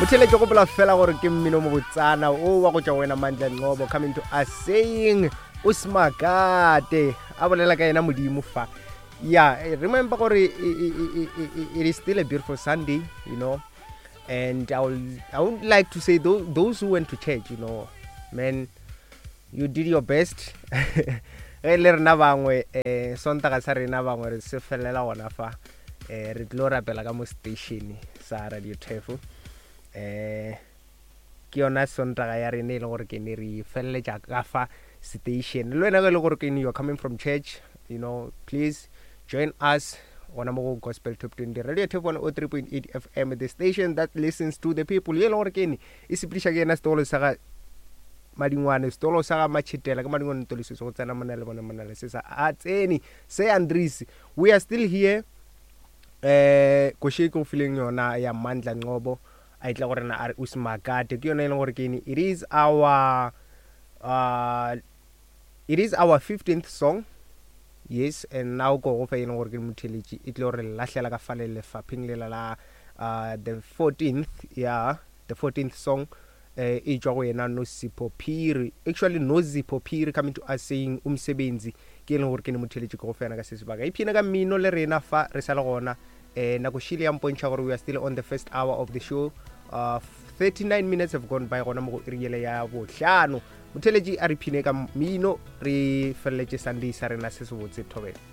Motheletše gopola fela gore ke mmino mobotsana o wa go tšwa wena Mandla Nqobo coming to us saying o smakate a bolela ka yena modimo fa. Yeah, remember gore it is still a beautiful Sunday, you know. And I will, I would like to say those, those who went to church, you know, man, you did your best. Ge le rena bangwe um sontaga sa rena bangwe re se felela gona fa um re tlo rapela ka mo station sa radio tefo um ke yona sontaga ya rena e le gore ke ne re feleletša ka fa station le wena ge e le gore ke you are coming from church you know please join us gona mo go gospel top 20 radio tefo 103.8 fm the station that listens to the people ye e le gore ke ne e sepediša ke yena setolo sa ga madingwane setolo sa ga matšhetela ke madingwane ntoliso se go tsena mona le bona mona le se sa a tsene se andries we are still here eh koše ke go fileng yona ya mandla nqobo a itla go rena a re usmakate ke yona e leng gore ke ene it is our uh, it is our 15th song yes and now ko go fa e leng gore ke motheletši e tlo re lahlela ka fale lefapheng lela la uh, the 14th yeah the 14th song eh e tšwa go yena Nosipho Phiri actually Nozipho Phiri coming to us saying umsebenzi ke e leng gore ke ne motheletši ke go fena ka se sebaka iphina ka mmino le rena fa re sa le gona eh nako šile ya mpontšha gore we are still on the first hour of the show uh, 39 minutes have gone by gona mo go iri yele ya bohlano motheletši a re phine ka mmino re feleletše sunday sa rena se se botse thobela.